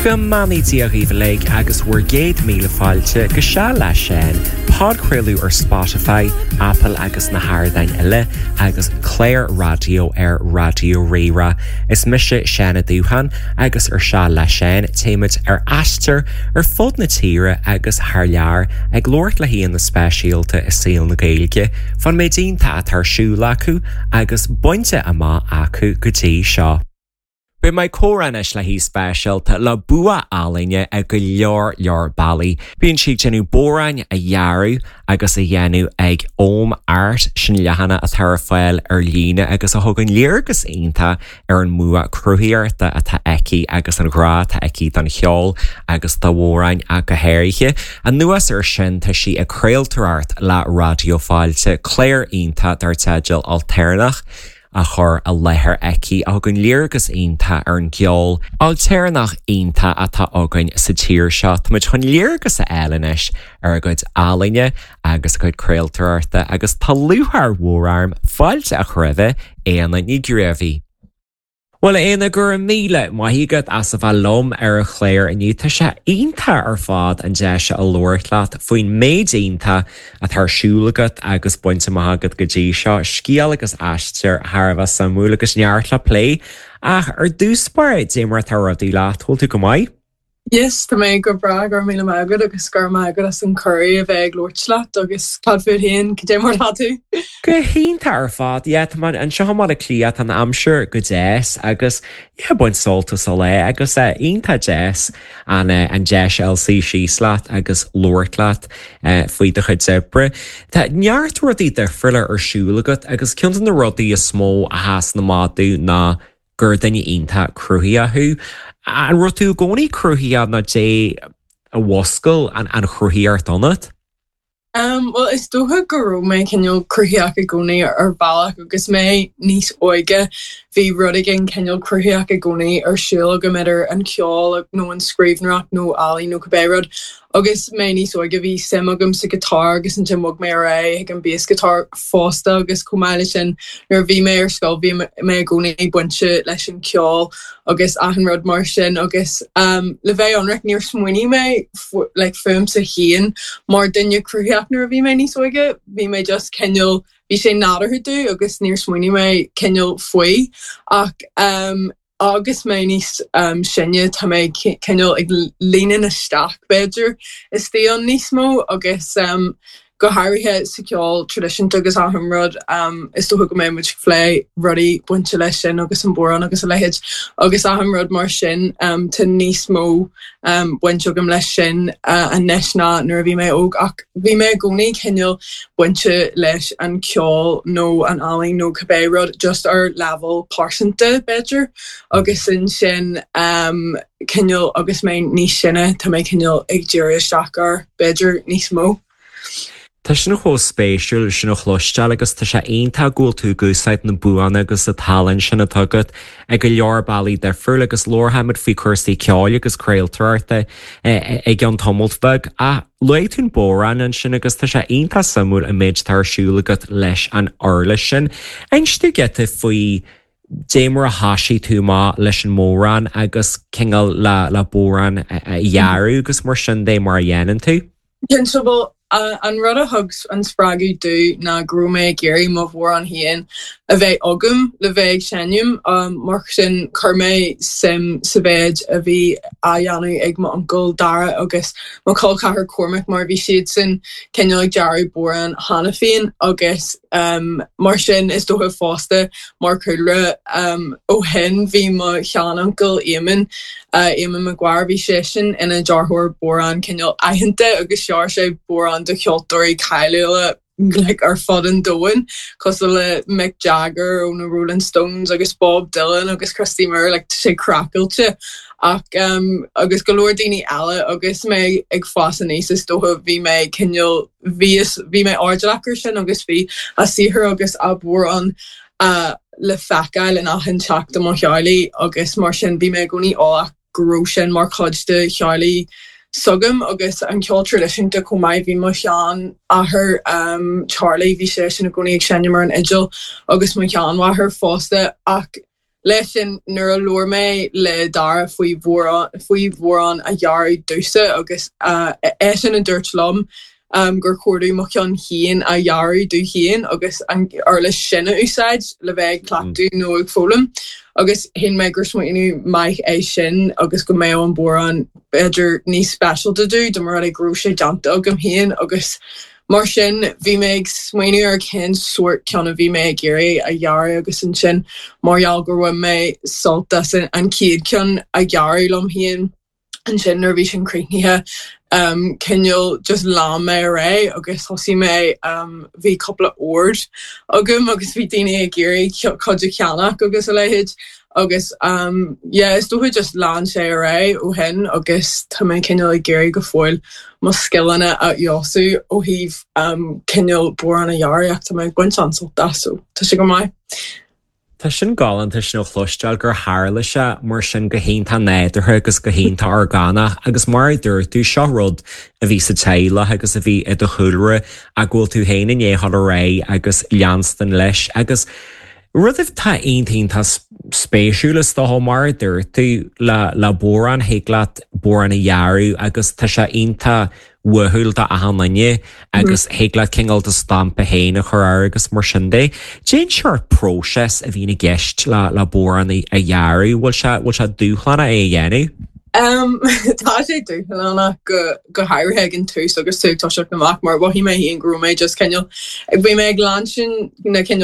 Go mbeannaí Dia dhaoibh uilig agus bhur gcéad míle fáilte go Seal le Seán, podchraoladh ar Spotify, Apple agus na hardáin eile, agus clár raidió ar Raidió Rí-Rá. Is mise Seán Ó Dúcháin agus ar Seal le Seán téimid ar aistear ar fud na tíre agus thar lear ag labhairt le haíonna speisialta i saol na Gaeilge fán méid iontach atá ar siúl acu agus bainte amach acu go dtí seo. Beidh mé ag comhrá anois le haoi speisialta le bua ealaíne i go leor leor bealaí. Bíonn sí ag déanamh bodhráin a dhearadh agus a dhéanamh ag Ogham Art, sin leathanach atá ar fáil ar líne agus a thugann léargas iontach ar an mbua cruthaíochta atá aici agus an ghrá atá aici don cheol agus do bhodhráin ach go háirithe. Anuas air sin tá sí ag craoltóireacht le Raidió Fáilte, clár iontach dar teideal Ailtéarnach. á chur i láthair aici a thugann léargas iontach ar an gceol ailtéarnach iontach atá againn sa tír seo. Táimid chun léargas a fháil anois ar a cuid ealaíne agus a cuid craoltóireachta agus tá lúcháir mhór orm fáilte a chur roimhe, Éanna Ní Ghréibhí. Bhuel, a Éanna, go raibh míle maith agat as a bheith liom ar an chlár inniu. Tá sé iontach ar fad an deis a labhairt leat faoin méid iontach atá ar siúl agat agus bainte amach agat go dtí seo, scéal agus aistear thar a bheith suimiúil agus neart le plé. Ach ar dtús báire, dé mar atá rudaí leat, bhfuil tú go maith? Yes, tá mé go breá, go raibh míle maith agat agus go raibh maith agat as an cuireadh a bheith ag labhairt leat agus cad fút féin, cad é mar atá tú? Go hiontach ar fad, yeah, tá mé anseo i mBaile Átha Cliath, tá an aimsir go deas agus yeah, baint sult as an lá agus eh, iontach deas an eh, an deis a fháil suí síos leat agus labhairt leat. faoi do chuid oibre. Tá neart rudaí difriúla ar siúl agat agus ceann de na rudaí is mó a sheasann amach domh ná gur duine iontach cruthaitheach thú. An raibh tú i gcónaí cruthaitheach nó dé a mhúscail an chruthaíocht ionat? Bhuel, is dócha go raibh mé cineál cruthaitheach i gcónaí ar bhealach agus mé níos óige bhí rud éigin cineál cruthaitheach i gcónaí ar siúl agam idir an ceol nó an scríbhneoireacht nó ealaín nó cibé rud. Agus mé níos óige bhí suim agam sa guitar agus ansin bhog mé ar aghaidh chuig an bass guitar fosta agus chomh maith leis sin nuair a bhí mé ar scoil bhí mé i gcónaí bainte leis an cheol agus achan rud mar sin agus le bheith ionraic níor smaoinigh mé like fúmsa féin mar duine cruthaitheach nuair a bhí mé níos óige, bhí mé just cineál bhí sé nádúrtha domh agus níor smaoinigh mé cineál faoi ach Agus mé níos sine, tá mé cineál ag líonadh isteach, b'fhéidir, istigh ann níos mó agus go háirithe sa cheol traidisiúnta agus achan rud, is dócha go mbeidh muid ag plé rudaí bainte leis sin agus an bodhrán agus a leithéid agus achan rud mar sin, tá níos mó baint agam leis sin anois ná nuair a bhí mé óg ach bhí mé i gcónaí cineál bainte leis an cheol nó an ealaín nó cibé rud just ar leibhéal pearsanta b'fhéidir agus ansin cineál agus mé níos sine tá mé cineál ag díriú isteach air b'fhéidir níos mó. Tá sin chomh spéisiúil sin a chloisteáil agus tá sé iontach go bhfuil tú ag úsáid na buanna agus an tallann sin atá agat i go leor bealaí difriúil agus labharfaimid faoi cúrsaí ceoil agus craoltóireachta i gceann tamalt bheag. Ach luaigh tú an bodhrán ansin agus tá sé iontach suimiúil an méid atá ar siúl agat leis an uirlis sin. Inis domh giota faoi dé mar a thoisigh tú amach leis an mbodhrán agus cineál le bodhrán a dhearadh agus mar sin de mar a dhéanann tú. Cinnte, bhuel, an rud a thug an spreagadh domh ná go raibh mé ag iarraidh mo bhodhrán féin a bheith agam le bheith ag seinm. Mar sin, chuir mé suim sa mhéid a bhí á dhéanamh ag m'uncail Dara agus mo chol ceathar Cormac mar bhí siadsan cineál ag dearadh bodhrán cheana féin agus mar sin is dócha fosta mar chúlra ó shin bhí mo sheanuncail Éamonn Éamonn Maguire, bhí seisean ina dhearthóir bodhrán cineál aitheanta agus dhear sé bodhráin do cheoltóirí cáiliúla like ar fud an domhain, cosúil le Mick Jagger ó na Rolling Stones agus Bob Dylan agus Christy Moore, like tá sé craiceáilte. Ach agus go leor daoine eile agus mé ag fás aníos is dócha bhí mé cineál, bhíos, bhí mé airdeallach ar sin agus bhí a saothar agus a bodhráin le feiceáil in achan teach de mo theaghlaigh agus mar sin bhí mé i gcónaí eolach go raibh sin mar chuid de theaghlaigh s'agam agus an ceol traidisiúnta chomh maith. Bhí mo sheanathair Charlie, bhí seisean i gcónaí ag seinm ar an fhidil agus mo sheanmháthair fosta ach. Leis sin, nuair a labhair mé le Dara faoi faoi bhodhrán a dhearadh domhsa agus eisean a dúirt liom gur chóir domh mo cheann féin a dhearadh domh féin agus an uirlis sin a úsáid le bheith ag cleachtadh nó ag foghlaim agus shíl mé gur smaoineamh maith é sin agus go mbeadh an bodhrán b'fhéidir níos speisialta domh dá mba rud é go raibh sé déanta agam féin agus Mar sin, bhí mé ag smaoineamh ar cén sórt ceann a bhí mé ag iarraidh a dhearadh agus ansin mar gheall gur bhain mé sult as an chéad cheann a dhearadh liom féin, ansin nuair a bhí sin críochnaithe, cineál just lean mé ar aghaidh agus thosaigh mé, bhí cúpla ord agam agus bhí daoine ag iarraidh cuid a cheannach agus a leithéid agus yeah is dócha just lean sé ar aghaidh ó shin agus tá mé cineál ag iarraidh go fóill mo scileanna a fheabhsú ó thaobh cineál bodhrán a dhearadh ach tá mé ag baint an-sult as so tá sé go maith. Tá sin galánta sin a chloisteáil gur tharla sé mar sin go hiontach nádúrtha agus go hiontach orgánach agus mar a dúirt tú seo rud a bhí sa teaghlach agus a bhí i do chúlra ach go bhfuil tú féin i ndiaidh dul ar aghaidh agus leanstan leis agus Rud atá iontach iontach spéisiúil is dócha, mar a dúirt tú, le le bodhrán, thig leat bodhrán a dhearadh agus tá sé iontach uathúil do achan duine agus thig leat cineál do stampa féin a chur air agus mar sin de. Cén seort próiseas a bhíonn i gceist le le bodhrán a dhearadh, bhfuil sé bhfuil sé dúshlánach é a dhéanamh? Tá sé dúshlánach go go háirithe ag an tús agus tú ag toiseacht amach mar mhothaigh mé féin go raibh mé just cineál bhí mé ag leanstan na cineál.